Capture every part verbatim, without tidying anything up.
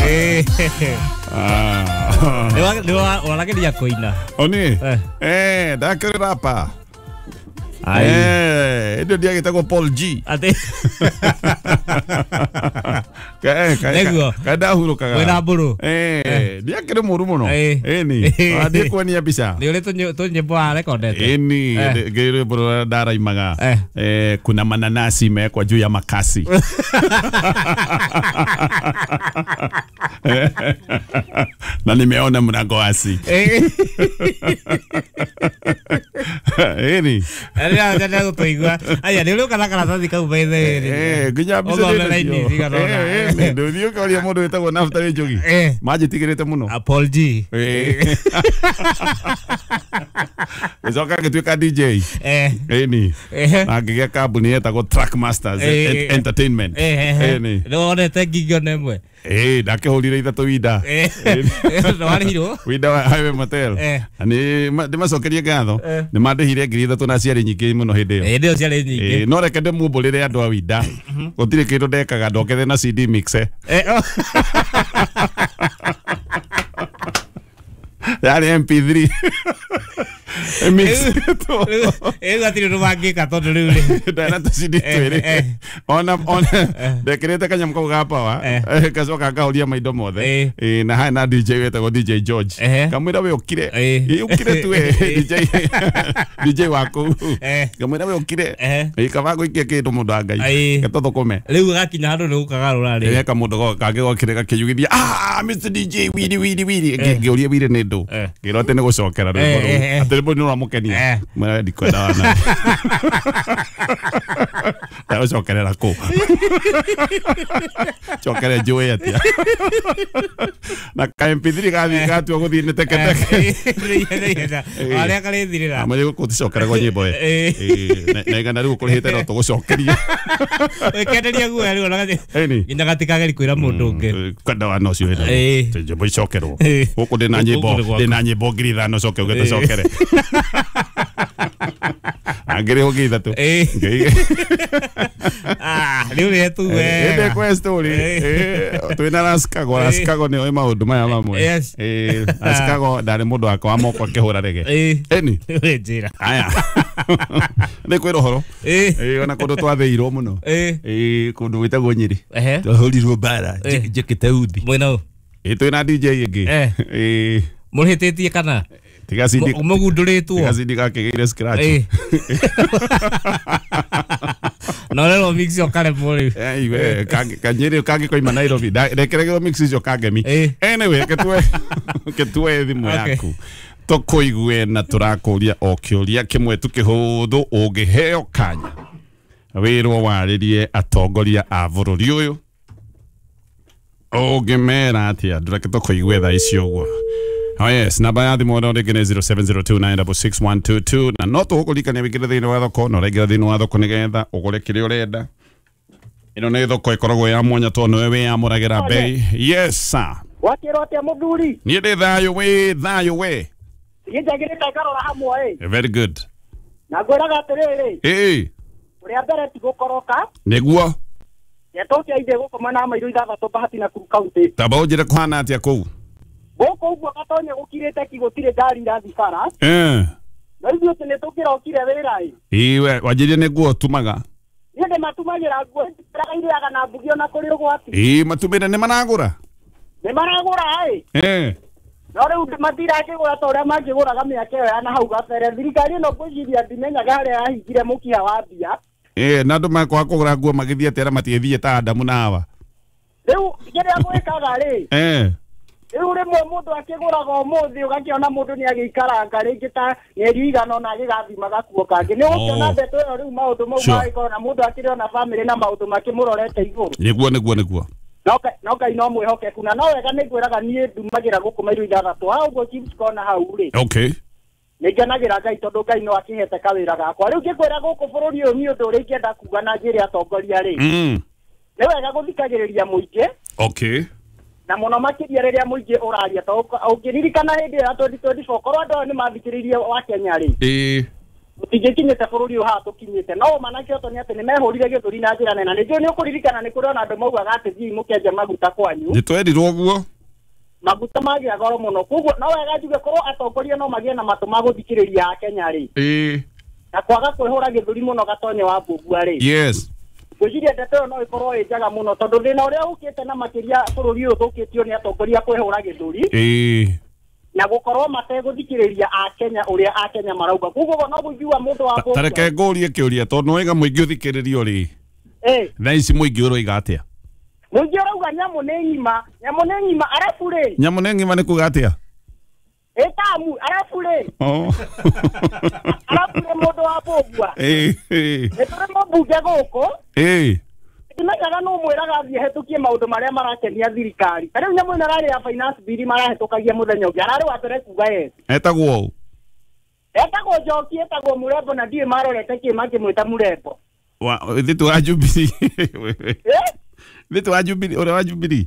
Eh. Nĩ warageria kũina. Oni. Eh, ndakĩrĩ rapa. Eh, ndio ndiagĩtagwo Paul G. Atĩ. Kae kae. Kadahurũkaga. Wĩna mbũrũ. Eh, ndiakĩrĩ mũru mũno. Ĩni. Ndiĩ kuonia mbica. Nĩ ũrĩ tũnyĩmbo warekondete. Ĩni, ngĩrĩ mbũrũ ndaraimaga. Eh, kuna mananasi imewekwa juu ya makasi. Na nimeona mlango wasi. Ĩni. Arĩa njenda gũtũigua. Aya, nĩ ũrĩ ũka na karatathi kau by the way. Eh, nginya mbica ndĩ nacio. Eh, eh, ndũthiĩ ũkoria mũndũ wĩtagwo Naftali Njogi. Manjĩtigĩrĩte mũno. Paul G. Eh. Gĩcoka ngĩtuĩka D J. Eh. Ĩni. Na ngĩgĩa kambuni yetagwo Track Masters Entertainment. Ĩni. Nĩ wonete ngingo ona ĩmwe? Eh, ndakĩhũrire ithatũ winda. Nĩwarĩhirwo? Winda wa Highway Motel. Na nĩ ndĩmacokerie ngatho. Nĩ mandĩhire ngiri ithatũ na ciarĩ nyingĩ mũno hĩndĩ ĩyo. Hĩndĩ ĩyo ciarĩ nyingĩ. No reke ndĩmumbũrĩre andũ a winda. Gũtirĩ kĩndũ ndekaga ndokethe na C D mixer. Yarĩ M P three. Mix. Ĩyo gatirĩ ũndũ mangĩka tondũ rĩu rĩ. Ndana tũ C D twĩrĩ. Ona ona ndekĩrĩte kanyamũ kau ga power gacoka ngahoria maindo mothe. Na harĩ na D J wetagwo D J George. Kamwĩra we ũkire. Ũkire tu we D J D J waku. Kamwĩra we ũkire. Kaba gũikia kĩndũ mũndũ wa Ngai. Gatũthũkũme. Rĩu gakinya handũ nĩ gũkagarũra rĩ. Eka mũndũ kangĩ gokire gakĩyugithia, ah Mister D J wiri wiri wiri. Ngĩũria wiri nĩ ndũ. Ngĩrwo atĩ nĩ gũcokera rwĩmbo rũu. Atĩ rwĩmbo nĩ rũramũkenia. Mwĩra ndikwenda wana. Ndagũcokerera kũ? Cokere njũĩ atĩa? Na ka M P three gathiĩ gatua gũthiĩ nĩ teketeke. Arĩa karĩthirĩra. Amwe gũkũ ticokeragwo nyĩmbo ĩ. Na igana rĩu ũkũrĩhĩte no tũgũcokerie. Ũkenderia guoya rĩu ona nginya gatikageri kwĩra mũndũ ũngĩ. Kwenda wana ũcio wĩna. Nyĩmbo icokerwo. Gũkũ ndĩna nyĩmbo ndĩna nyĩmbo ngiri ithano coke ũge tũcokere. Angĩrĩhwo ngiri ithatũ. Ah, rĩu nĩ tu we. Ĩndĩ kwa story. Twĩna Raskago, Raskago nĩ oĩ maũndũ maya mamwe. Eh, Raskago ndarĩ mũndũ wakwa wa moko akĩhũra rege. Ĩni. Wĩ njĩra. Aya. Nĩ kwĩra ũhoro. Eh, ona kũndũ twathĩirwo mũno. Eh, kũndũ gwĩtagwo Nyĩrĩ. Twahũrirwo mbara njĩkĩte uthi. Mwĩna ũ? Ĩ twĩna D J ĩngĩ. Eh. Mũrĩhĩtĩtie kana? Tiga C D mũgundũrĩtwo. Tiga C D gakĩgĩire scratch. No rero mix yo karemwo rĩu. Eh, iwe kanyĩrĩ kangĩkoima Nairobi. Rekeregerwo mix icio kangemi. Anyway, ketue ketue thimũ yaku. Tũkũigue na tũrakũria o kĩũria kĩmwe tu kĩhũthũ ũngĩheo kanya. Wĩrwo warĩrie atongoria a bũrũri ũyũ. Ũngĩmera atĩa? Ndũreke tũkũigue thaa ici ũguo. Oh yes, namba ya thimũ no rĩngĩ nĩ zero seven zero two nine six six one two two na no tũgũkũririkania wĩingĩre thĩinĩ wa thoko na ũraingĩra thĩinĩ wa thoko nĩgetha ũgũre kĩrĩa ũrenda. Ĩno nĩ thoko ĩkoragwo ya mwanya tondũ nĩwe wĩyamũragĩra bei. Yes sir. Wakĩrwo atĩa mũthuri? Niĩ ndĩ thayũ wĩ thayũ we. Niĩ njagĩrĩte ngarora hamwe ĩ. Very good. Na ngwĩraga atĩrĩrĩ. Ĩĩ. Ũrĩa mbere ti gũkoroka. Nĩguo. Netokia ithe gũkoma na mairũ ithathatũ Bahati Nakuru County. Tamba ũnjĩre kũhana atĩa kũu? Gũkũ ũguo gatonye gũkirĩte ki gũtirĩ ngari irathiĩ bara. Eh. No ithuĩ atĩ nĩtũkĩrokire wĩra ĩ. Ĩĩ we wanjĩrie nĩ nguo ũtumaga. Niĩ ndĩmatumagĩra nguo irĩaga na mbugi ona kũrĩ ũgwati. Ĩĩ matumĩre nĩ maragũra? Nĩ maragũra ĩ. Eh. No rĩu matirakĩgũra ta ũrĩa mangĩgũraga mĩaka ĩyo ya na hau gabere. Thirikari ĩno ngwĩciria ndimenyaga harĩa yahingire mũkiha wa mbia. Eh, na andũ makwaga kũgũra nguo magĩthiĩ atĩ arĩa matiĩthiĩ ta Adamu na Hawa. Rĩu kĩrĩa gwĩkaga rĩ. Eh. Rĩu rĩmwe mũndũ akĩgũraga ũmũthĩ ũgakĩona mũndũ nĩ agĩikaranga rĩngĩ ta mĩeri igana ũna agĩgathima gakuo kangĩ. Nĩ ũgũkĩona ndeto ĩyo rĩu maũndũ mau magĩkorwo na mũndũ akĩrĩ ona bamĩrĩ na maũndũ makĩmũrorete igũrũ. Nĩguo nĩguo nĩguo. No Ngai no mwĩhokeku na no wega nĩ ngwĩraga niĩ ndumagĩra gũkũ mairũ ithathatũ. Ha ũguo Chiefs Corner hau rĩ. Okay. Nĩ ngenagĩra Ngai tondũ Ngai no akĩhete kawĩra gakwa. Rĩu ngĩkwĩra gũkũ bũrũri ũyũ niĩ ũndũ ũrĩa ingĩenda kuga na njĩre atongoria rĩ. Nĩ wega gũthikagĩrĩria mũingĩ. Okay. Na mũno makĩria rĩrĩa mũingĩ ũraria to ũngĩririkana hĩndĩ ya twenty twenty-four korwo andũ aya nĩ mathikĩrĩirie wa Kenya rĩ. Ĩĩ. Tũtingĩkinyĩte bũrũri ũyũ haha tũkinyĩte no manake oto nĩ atĩ nĩ mehũrire gĩthũri na njĩra nene na nĩnjũĩ nĩ ũkũririkana nĩ kũrĩ ona andũ maugaga atĩ thiĩi mũkenje maguta kwanyu nĩ twerirwo ũguo maguta magĩa goro mũno koguo no wega njuge korwo atongoria no magĩe na matũ ma gũthikĩrĩria Akenya rĩ ĩĩ na kwaga kwĩhũra gĩthũri mũno gatonye wa mbũmbua rĩ yes ngwĩciria ndeto ĩyo no ĩkorwo ĩ njega mũno tondũ thĩna ũrĩa ũkĩte na makĩria bũrũri ũyũ ũthũkĩtio nĩ atongoria kwĩhũra gĩthũri ĩĩ na gũkorwo mategũthikĩrĩria Akenya ũrĩa Akenya marauga koguo no gũigua mũndũ wa Ta reke ngũrie kĩũria tondũ nĩwaiga mũingĩ ũthikĩrĩrio rĩ ĩĩ thaa ici mũingĩ ũroiga atĩa mũingĩ ũrauga nyamũ nĩ ng'ima nyamũ nĩ ng'ima arabu rĩ nyamũ nĩ ng'ima nĩ kuga atĩa ĩtamu arabu rĩ oh arabu rĩ mũndũ wa mbũmbua ĩĩ ĩĩ nĩ tũrĩ mũmbunge gũkũ ĩĩ ndimenyaga nũ mwĩraga athiĩ hetũkie maũndũ marĩa marakenia thirikari ta rĩu nyamũ ĩno ĩrarĩ ya finance bill marahetũkagia mũthenya ũngĩ ararĩ wa mbere kuga yes etagwo ũ etagwo Njoki etagwo Mũrembo na ndiũĩ marorete kĩ makĩmwĩta Mũrembo wa thitu wa Jubilee ĩ thitu wa Jubilee ũrĩa wa Jubilee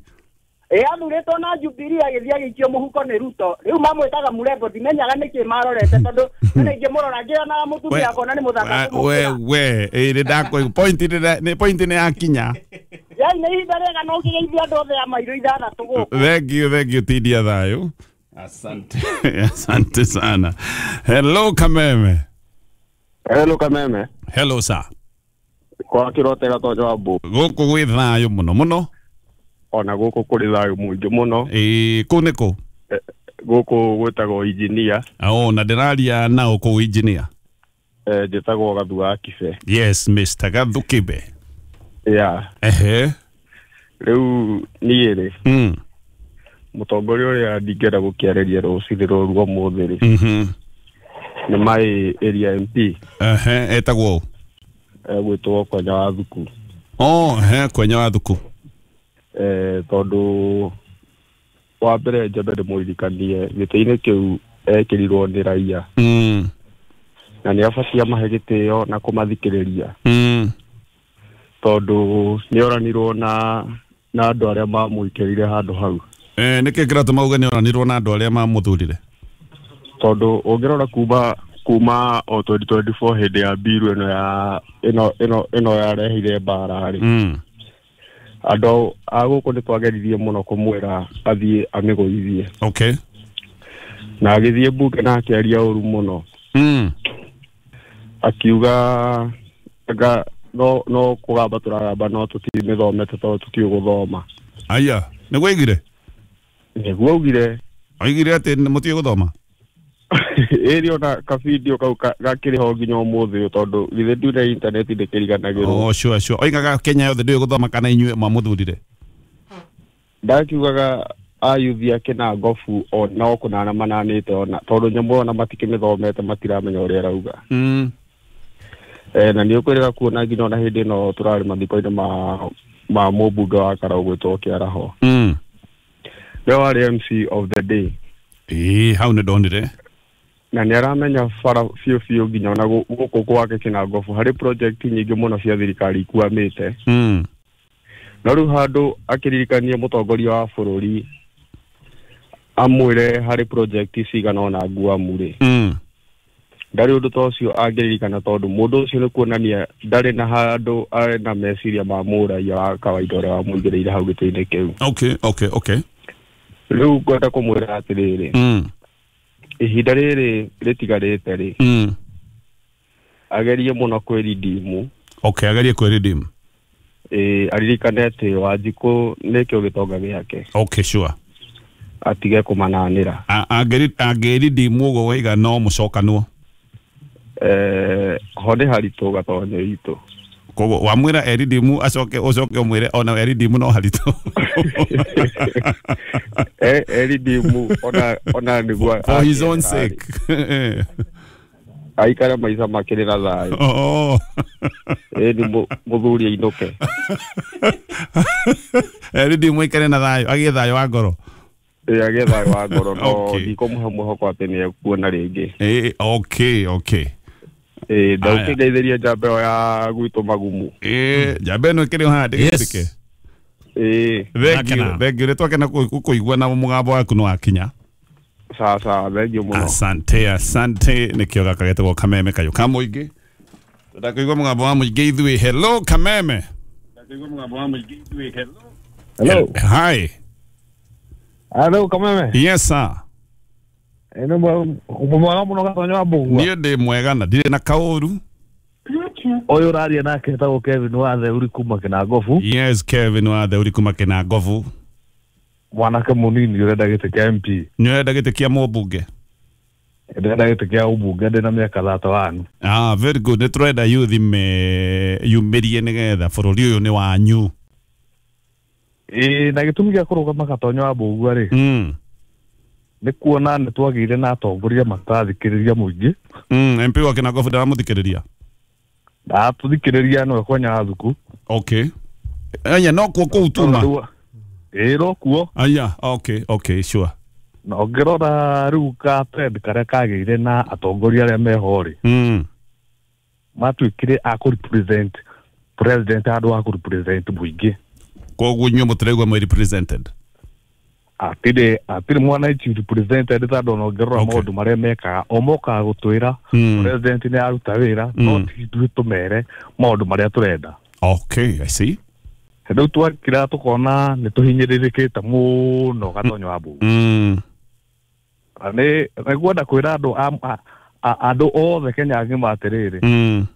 ĩ athurĩtwo na Jubilee agĩthiĩ agĩikio mũhuko nĩ Ruto rĩu mamwĩtaga Mũrembo ndimenyaga nĩkĩ marorete tondũ nĩ ingĩmũrora ngĩonaga mũtumia akona nĩ mũthaka we we ĩ nĩ ndakũigua point nĩ point nĩ yakinya yai nĩ ihinda rĩega no ũkĩgeithia andũ othe a mairũ ithathatũ gũkũ thank you thank you tindia thayũ asante asante sana hello Kameme hello Kameme hello sir kwa kĩrote gatonyo wa mbũ gũkũ gwĩ thayũ mũno mũno ona gũkũ kũrĩ thayũ mũingĩ mũno ĩĩ kũu nĩ kũ gũkũ gwĩtagwo engineer oh na ndĩraria nao kũu engineer eh njĩtagwo Gathu wa Kibe yes Mister Gathu Kibe yeah ehe rĩu niĩ rĩ mm mũtongoria ũrĩa ndingĩenda gũkĩarĩria rũcinĩ rũrũ ũmũthĩ rĩ mhm nĩ my area M P ehe etagwo ũ egwĩtwo Kwenya wa Thuku oh ehe Kwenya wa Thuku eh tondũ wa mbere njambe ndĩmũririkanie gĩtĩ-inĩ kĩu ekĩrirwo nĩ raia mm na nĩ abatie amahe gĩtĩo na kũmathikĩrĩria mm tondũ nĩ oranirwo na na andũ arĩa mamũikĩrire handũ hau eh nĩkĩ kĩratũma uge nĩ oranirwo na andũ arĩa mamũthurire tondũ ũngĩrora kuma kuma o twenty twenty-four hĩndĩ ya mbiru ĩno ya ĩno ĩno ĩno yarehire mbara rĩ mm andũ a gũkũ nĩ twageririe mũno kũmwĩra athiĩ amĩgũithie okay na agĩthiĩ mbunge na akĩaria ũru mũno mm akiuga anga no no kũgamba tũragamba no tũtimĩthomete tondũ tũtiũĩ gũthoma aya nĩguo aigire nĩguo augire aigire atĩ mũtiũĩ gũthoma ĩrĩ ona kabidio kau gakĩrĩ ho nginya ũmũthĩ ũyũ tondũ githĩ ndune intaneti ndĩkĩriganagĩrwo oh sure sure oigaga Kenya yothe ndĩũĩ gũthoma kana inyuĩ mwamũthurire ndakiugaga ayuthi ake na ngobu no kũnana mananĩte ona tondũ nyamũ ona matikĩmĩthomete matiramenya ũrĩa arauga mm eh na nĩ ũkwĩrĩga kuona nginya ona hĩndĩ ĩno tũrarĩ mathiko-inĩ ma ma mũmbunge wa Karau gwĩtwo Kĩaraho mm nĩwe warĩ M C of the day ĩĩ hau nĩ ndonire na nĩ aramenya bara biũ biũ nginya ona gũkũ gwake Kĩnangobu harĩ project nyingĩ mũno cia thirikari ikwamĩte mm no rĩu handũ akĩririkanie mũtongoria wa bũrũri amwĩre harĩ project cigana ũna nguamu rĩ mm ndarĩ ũndũ ta ũcio angĩririkana tondũ mũndũ ũcio nĩ kuonania ndarĩ na handũ arĩ na meciria ma mũraia wa kawaida ũrĩa wamũigĩrĩire hau gĩtĩ-inĩ kĩu okay okay okay rĩu ngwenda kũmwĩra atĩrĩrĩ mm ihinda rĩrĩ rĩtigarĩte rĩ mm agerie mũno kwĩridimu okay agerie kwĩridimu ĩĩ aririkane atĩ Wanjikũ nĩkĩo gĩtonga gĩake okay sure atige kũmananĩra angĩridimu ũguo waiga no mũcokanwo eh ho nĩ haritũ gatonyo itũ koguo wamwĩra eridimu acoke ũcoke ũmwĩre ona eridimu no haritũ eh eridimu ona ona nĩguo for his own sake aikare maica makĩrĩ na thayũ oh ĩ nĩ mũthuri ainũke eridimu aikare na thayũ agĩe thayũ wa ngoro ĩ agĩe thayũ wa ngoro no ndikũmũhe mwĩhoko atĩ nĩ ekuona rĩngĩ ĩ okay okay eh ndaukigeithiria njamba ĩyo ya gwitũ magumu eh njamba ĩno ĩkĩrĩ o haha ndĩgĩtĩke eh thank you thank you nĩtwakena kũigua na mũgambo waku nĩ wakinya Sawa sawa, thengiũ mũno. Asante, asante. Nĩkĩo gaka getagwo Kameme kayũ ka mũingĩ. Tũndakũigua mũgambo wa mũingĩ ithuĩ. Hello Kameme. Tũndakũigua mũgambo wa mũingĩ ithuĩ. Hello. Hello. Hi. Hello Kameme. Yes sir. Eno mwega mũno Gatonyo wa Mbũgua. Niĩ ndĩ mwega na ndirĩ na kaũru. Ũyũ ũraria nake etagwo Kevin wa Theuri kuma Kĩnangobu. Yes, Kevin wa Theuri kuma Kĩnangobu. Mwanake mũnini ũrenda gĩtĩ kĩa M P. Nĩ ũrenda gĩtĩ kĩa mũmbunge? Ndĩrenda gĩtĩ kĩa ũmbunge ndĩ na mĩaka thirty one. Ah, very good. Nĩ tũrenda youth me yumĩrie nĩgetha bũrũri ũyũ nĩ wanyu. Ĩĩ, na gĩtũmi gĩa kũrũgama Gatonyo wa Mbũgua rĩ, Mm. nĩ kuona nĩ twagĩire na atongoria matarathikĩrĩria mũingĩ. Mm, M P wa Kĩnangobu ndaramũthikĩrĩria. Ndatũthikĩrĩria nĩwe kwa Nyathuku. Okay. Aya no kuo kũu tuma. Ĩĩ no kuo. Aya, okay, okay, sure. Na ũngĩrora rĩu ka trend karĩa kagĩire na atongoria arĩa meho rĩ, Mm. matuĩkire a kũ represent president handũ ha kũ represent mũingĩ. Koguo inyuĩ mũtiraigua mwĩ represented. Atirĩ atirĩ mwananchi represented tondũ ona ũngĩrora Okay. maũndũ marĩa mekaga o mokaga gũtwĩra Mm. president nĩ aruta wĩra, no Mm. ti ithuĩ tũmere maũndũ marĩa tũrenda. Okay, I see. Rĩu twakira tũkona nĩ tũhinyĩrĩrĩkĩte mũno Gatonyo wa Mbũgua. Mm. Na nĩ nĩngwenda kwĩra andũ a- a- andũ othe Kenya ng'ima atĩrĩrĩ, Mm.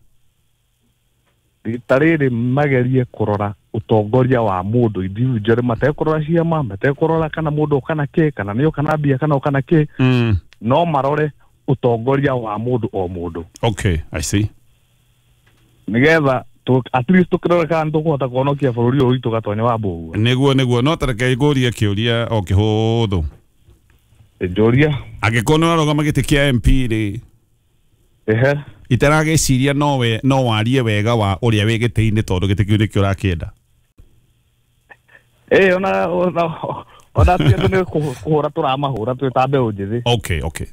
rita rĩrĩ magerie kũrora ũtongoria wa mũndũ individually, matekũrora ciama, matekũrora kana mũndũ kana kĩ, kana nĩ kana mbia kana kana kĩ, Mm. no marore ũtongoria wa mũndũ o mũndũ. Okay, I see. Nĩgetha at least tũkĩrore kana nĩtũkũhota kũhonokia bũrũri ũyũ witũ Gatonyo wa Mbũgua. Nĩguo nĩguo, no tareke ngũrie kĩũria o kĩhũthũ. Njũria. Angĩkorwo nĩ ũrarũgama gĩtĩ kĩa M P rĩ, Ehe. itaragĩciria no we no warie wega wa ũrĩa wĩ gĩtĩ-inĩ tondũ gĩtĩ kĩu nĩkĩo ũrakĩenda. Ĩĩ, ona ona ona ti andũ nĩ kũhũra tũramahũra twĩ ta mbeũ njĩthĩ. Okay, okay.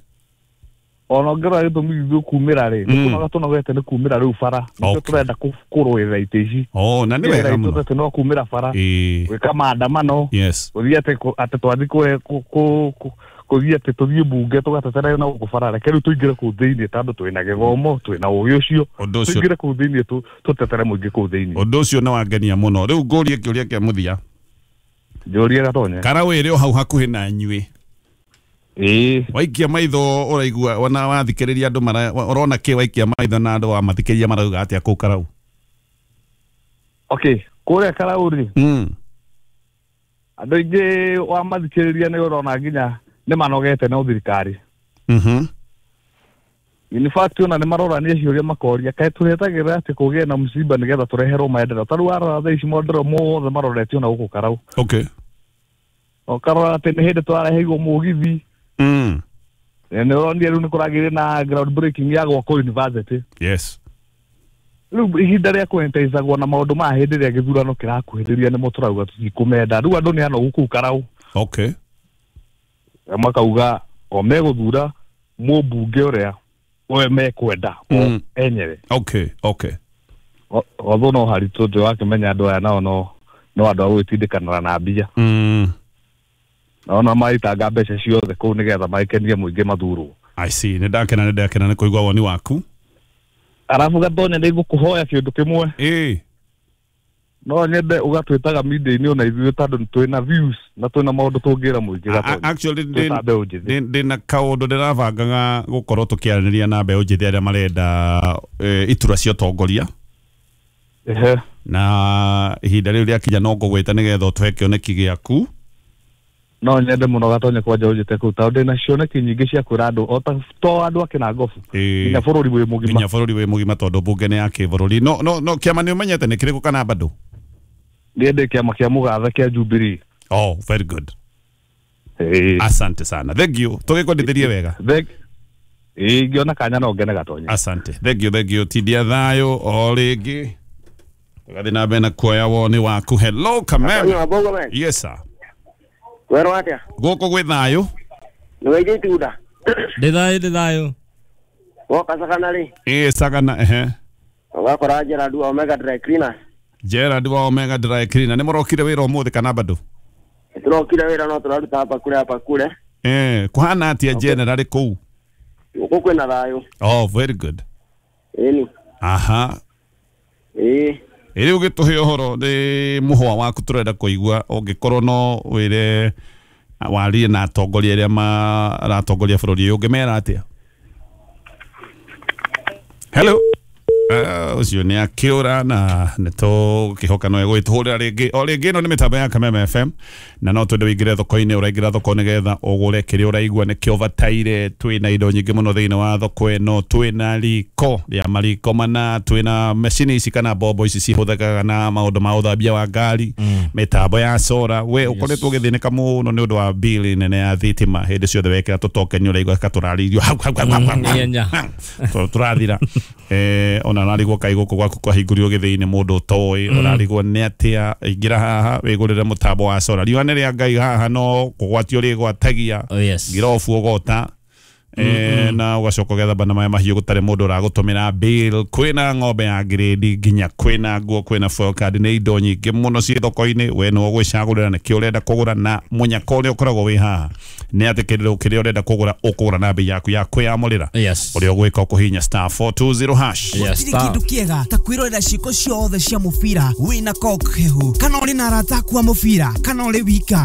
Ona ũngĩrora gĩtũmi gitũ kumĩra rĩ, nĩ kũnoga tũnogete nĩ kumĩra rĩu bara. Nĩkĩo tũrenda kũrũĩrĩra itĩ ici. Oh, na nĩ wega mũno. Tũrenda no kumĩra bara. Gwĩka maandamano. Yes. Gũthiĩ atĩ atĩ twathiĩ kũ kũthiĩ atĩ tũthiĩ mbunge tũgatetera na gũkũ bara. Reke rĩu tũingĩre kũu thĩinĩ tondũ twĩna gĩthomo, twĩna ũgĩ ũcio. Tũingĩre kũu thĩinĩ tũtetere mũingĩ kũu thĩinĩ. Ũndũ ũcio nĩ wangenia mũno. Rĩu ngũrie kĩũria kĩa mũthia. Njũria Gatonye. Karaũ ĩrĩ o hau hakuhĩ na inyuĩ. Ĩĩ. Waikia maitho ũraigua ona wathikĩrĩria andũ mara ũrona kĩ waikia maitho na andũ wamathikĩrĩria marauga atĩa kũu Karaũ? Okay, kũrĩa Karaũ rĩ. Mm. Andũ aingĩ wamathikĩrĩria nĩ ũrona nginya nĩ manogete na thirikari. Mhm. In fact ona nĩ marorania ciũria makoria kaĩ tũretagĩrĩra atĩ kũgĩe na msiba nĩgetha tũreherwo maendeleo. Ta rĩu warora thaa ici maendeleo mothe maroretio na gũkũ Karaũ. Okay. Ũkarora atĩ nĩ hĩndĩ tũrareheirwo mũgithi. Mm. Nĩ ũronire rĩu nĩ kũragĩire na ground breaking ya gwakwo university. Yes. Rĩu ihinda rĩa kũentaicagwo na maũndũ ma hĩndĩ ĩrĩa gĩthurano kĩrakuhĩrĩria nĩmo tũrauga tũtikũmenda. Rĩu andũ nĩ anogu kũu Karaũ. Okay. Makauga o megũthura mũmbunge ũrĩa we mekwenda o enyewe. Okay, okay. Although no haritũ ndĩ wakĩmenya andũ aya nao no no andũ a gwĩtindĩkanĩra na mbia. Mm. Naona maitanga mbeca ciothe kũu nĩgetha maikenie mũingĩ mathurwo. I see. Nĩ ndakena nĩ ndakena nĩ kũigua woni waku. Arabu Gatonye nĩ ngũkũhoya kĩũndũ kĩmwe. Ĩĩ. No nyende ũgatwĩtaga media-inĩ ona ithuĩ tondũ twĩna views na twĩna maũndũ tũngĩra mũingĩ Gatonye. Actually ndĩ na kaũndũ ndĩrabangaga gũkorwo tũkĩaranĩria na mbeũ njĩthĩ arĩa marenda iturwa cia ũtongoria. Ehe. Na ihinda rĩu rĩakinya no ngũgwĩta nĩgetha ũtũhe kĩoneki gĩaku. No nyende mũno Gatonye kwanja ũnjĩte kũu tondũ ndĩna cioneki nyingĩ cia kwĩra andũ o ta to andũ a Kĩnangobu nginya bũrũri wĩ mũgima. Nginya bũrũri wĩ mũgima tondũ mbunge nĩ ya kĩbũrũri. No no no kĩama nĩ ũmenyete nĩ kĩrĩkũ kana bado? Niĩ ndĩ kĩama kĩa mũgathe kĩa Jubilee. Oh, very good. Hey. Asante sana. Thank you. Tũgĩkwendithĩrie wega. Thank Ĩĩ ngĩona kanya no ngene Gatonye. Asante. Thank you, thank you. Tindia thayũ o rĩngĩ. Tũgathiĩ na mbere na kuoya woni waku. Hello Kameme. Yes sir. Wero atia? Gũkũ gwĩ thayũ. Nĩ waigĩ itunda. Ndĩ thayũ, ndĩ thayũ. Woka Sagana rĩ? Ĩĩ Sagana, ehe. Ũgakora Gerald wa Omega Dry Cleaners. Gerald wa Omega Dry Cleaner. Nĩ mũrokire wĩra ũmũthĩ kana bado? Tũrokire wĩra no tũraruta hapa kule hapa kule. Eh, kuhana atia general kuu? Gũkũ kwĩna thayũ. Oh, very good. Ĩni. Aha. Ĩĩ. Ĩrĩ ũgĩtũhe ũhoro nĩ mũhwa waku tũrenda kũigua ũngĩkorwo no wĩre warie na atongoria arĩa maratongoria bũrũri ũyũ ũngĩmera atĩa? Hello. Ũcio nĩ akĩũra na nĩ tũkĩhoka no egũgĩtũhũrĩra rĩngĩ o rĩngĩ. Ĩno nĩ mĩtambo ya Kameme F M na no twende wĩingĩre thoko-inĩ. Ũraingĩra thoko nĩgetha ũgũre kĩrĩa ũraigua nĩkĩo ũbataire. Twĩna indo nyingĩ mũno thĩinĩ wa thoko ĩno, twĩna riko rĩa mariko mana, twĩna macini ici kana mbombo ici cihũthĩkaga na maũndũ ma ũthambia wa ngari, mĩtambo ya sora. We ũkoretwo ũgĩthĩnĩka mũno nĩ ũndũ wa bili nene ya thitima, hĩndĩ ciothe wekĩra tũtoken ũraigua katũrarĩirio hau hau hau hau tũrathira. Eh, ona ũrarigwo kaĩ gũkũ gwaku kwahingũrirwo gĩthĩinĩ mũndũ ũtoĩ, ũrarigwo nĩ atĩa. Ingĩra haha wĩgũrĩre mũtambo wa sora. Riũa nĩ rĩa Ngai haha no kũgwatio rĩgwatagia ngirobu ũgota eh, na ũgacoka ũgethamba na maĩ mahiũ gũtarĩ mũndũ ũragũtũmĩra bill. Kwĩna ng'ombe ya grade nginya kwĩna nguo, kwĩna foil card, nĩ indo nyingĩ mũno ciĩ thoko-inĩ. We nĩwe ũgwĩcagũrĩra nĩkĩo ũrenda kũgũra, na mũnyaka ũrĩa ũkoragwo wĩ haha nĩ atĩ kĩrĩa kĩrĩa ũrenda kũgũra ũkũgũra na bei yaku ya kwĩyamũrĩra. Ũrĩa ũgwĩka ũkũhihinya star four two zero hash. Gũtirĩ kĩndũ kĩega ta kwĩrorera ciĩko ciothe cia mũbira wĩna coke hehu, kana ũrĩ na arata aku a mũbira, kana ũrĩ wika.